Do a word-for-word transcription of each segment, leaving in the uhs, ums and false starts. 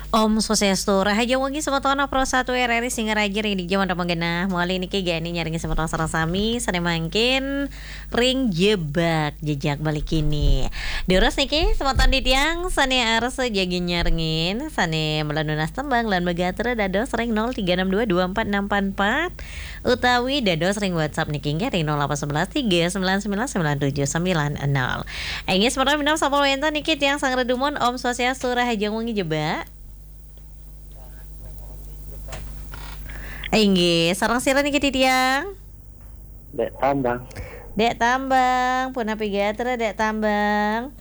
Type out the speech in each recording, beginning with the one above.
Om Swastiastu, rahajeng wengi semeton Pro satu R R I Singaraja ring dija manten magenah. Malih niki geni nyarengin semeton sareng sami sane mangkin ring jebak jejak balik kini. Durus niki semeton titiang sane arsa jagi nyarengin, sane mula nunas tembang lan magatra dados ring nol tiga enam dua dua empat enam empat empat, utawi dados ring WhatsApp niki inggih ring nol delapan sebelas tiga sembilan sembilan sembilan tujuh sembilan nol. Inggih, semeton minab sampun wenten niki tiang sanggra dumun, Om Swastiastu, rahajeng wengi jebak. Inggih, sareng sira niki titiang? Dek Tambang. Dek Tambang, punapi gatra, Dek Tambang?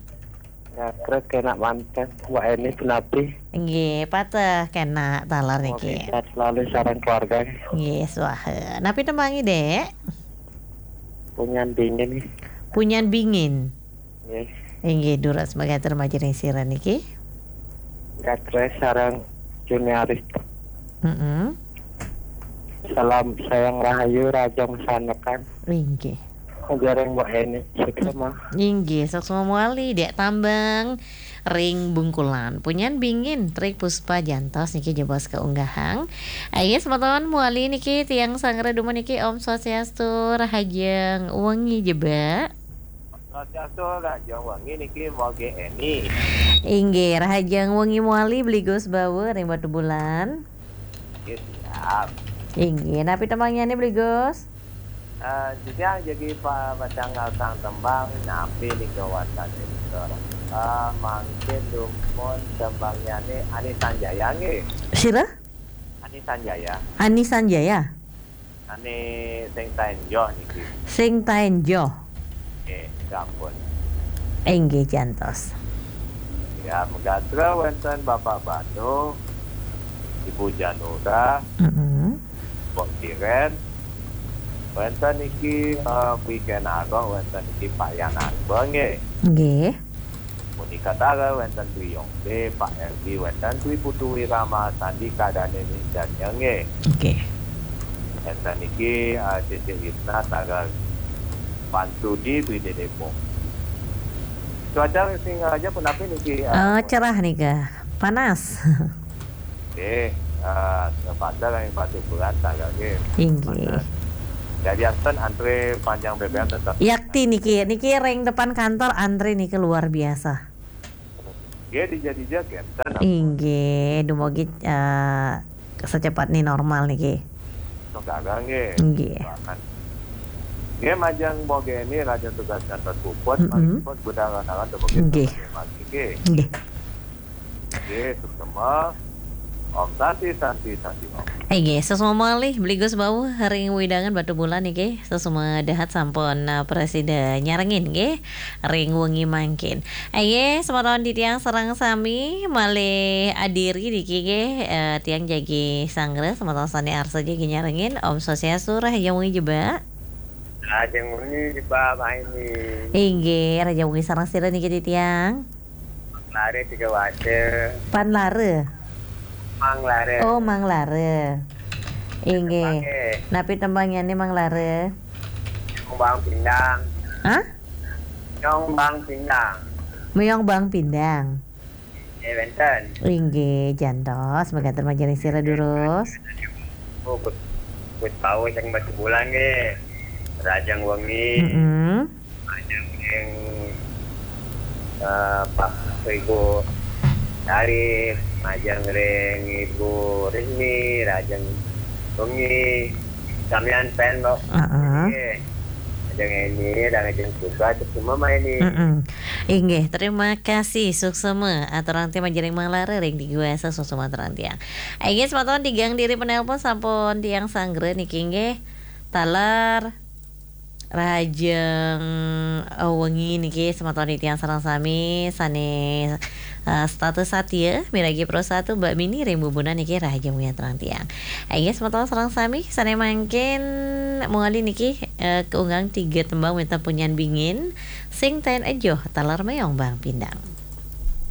Gatra kenak manten, Mbak Eni, punapi? Inggih, pateh kenak taler niki. Sehat selalu sareng keluarga. Nggih, swaha. Napi tembangi, Dek? Punyan Bingin. Punyan Bingin. Nggih. Inggih, durus magatra majeng ring sira niki. Gatra sareng Juniaris. Mm-mm. Salam sayang rahayu, rahajeng sanekan. Inggih. Ajaring Mbak Eni, suksma. Inggih, suksma malih, Dek Tambang ring Bungkulan. Punyan Bingin, Tri Puspa jantos niki jebos kaunggahang. Ayo, semeton malih niki tiang sanggra dumun niki, Om Swastiastu, rahajeng wengi jebak. Swastiastu, rahajeng wengi niki Mbok Eni. Inggih, rahajeng wengi malih Bli Gus Bawa ring Batubulan. Nggih, siap. Inggih, napi tembangnyane Bli Gus? Eh, titiang jagi pa-, pacang ngarasang tembang, napi nika wastane nika. Eh, mangkin dumun tembangnyane Ani Sanjaya nggih. Sira? Ani Sanjaya. Ani Sanjaya? Ane sing taen joh niki. Sing taen joh. Nggih, sampun. Inggih, jantos. Ya, magatra wenten Bapak Bano, Ibu Janura, Mm-mm. Mbok Kiren, wenten niki, eh, Pi Kenaro, wenten niki Pak Yan Arba nggih. Nggih. Monika Tara, wenten Dwi Yongde, Pak Erdi, wenten Dwi Putu Wirama, Sandi Kadane Misalnya nggih. Nggih. Wenten niki, eh, Cece Isna, Tara Pansudi, Dwi Dedepong. Cuaca Singaraja punapi niki, eh, Eh, cerah nika, panas. Nggih, eh, terpaksa kami patuh berat, Tara nggih. Inggih. Panas. Jadi, anten antre panjang bebean tetap. Yakti niki, niki ring depan kantor antre niki luar biasa. Nggih, dija-dija kenten. Inggih, dumugi, eh, secepatnya normal niki. Sekarang nggih. Nggih. Bahkan. Nggih, majeng Mbok Eni, rahajeng tugas ngantos puput, Mm-mm. malih puput budal lantaran dumugi Nggih. Nggih. Nggih, suksma. Om Santi, Santi, Santi, Om. Inggih, suksma malih Bli Gus Bawa ring wewidangan Batubulan niki. Suksma dahat sampun, eh, prasida nyarengin nggih ring wengi mangkin. Inggih, semeton titiang sareng sami malih adiri niki nggih, eh, tiang jagi sanggra, semeton sane arsa jagi nyarengin. Om Swastiastu, rahajeng wengi jebak. Rahajeng wengi jebak, Pak Eni. Inggih, rahajeng wengi sareng sira niki titiang? Lare tiga waca. Pan Lara. Mang Lara. Oh, Mang Lara. Inggih. Nggih. Napi tembangyane Mang Lara? Nyong Bang Pindang. Hah? Nyong Bang Pindang. Meyong Bang Pindang. Eh, wenten. Inggih, jantos, magatra majeng ring sira durus. Oh, kut, kut paus yang Batubulan nggih. Rahajeng wengi. Mm-mm. Majeng ring, eh, Pak Ibu Arif, majeng ring Ibu Rini, rahajeng wengi. Samian pen, Mbok. Heeh. Nggih. Majeng Eni, rahajeng juga, terus semua main ini. Mm-mm. Inggih, terima kasih, suksma. Aturang tiang majeng ring Mang Lara ring Diguasa, suksma aturang tiang. Inggih, semeton tigang diri penelpon sampun tiang sanggra niki nggih. Taler rahajeng, eh, wengi niki semeton titiang sareng sami sane, eh, setata satia miragi Pro satu Mbak Mini ring Bubunan niki rahajeng wengi aturang tiang. Inggih semeton sareng sami sane mangkin mungguing niki, eh, kaunggahang tiga tembang wenten Punyan Bingin, Sing Taen Ejoh, taler Meyong Bang Pindang.